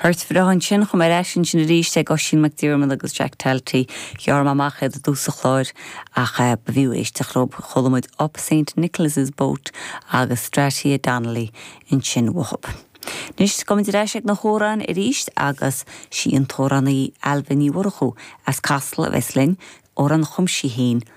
Port bhreá ansin, chuaigh mé ar ais ansin arís ag Oisín McDiarmid agus Jack Talty. Ghearr mé amach iad i dtús an chláir ach ba bhfiú éisteacht leo. Chuala muid Up Saint Nicholas's Boat agus Stratia Donnelly ansin uathu. Anois, gabhfaidh muid ar ais ag na hamhráin arís agus sí an t-amhránaí Ailbhe Ní Mhurchú as Casla a bheas linn, amhrán a chum sí féin.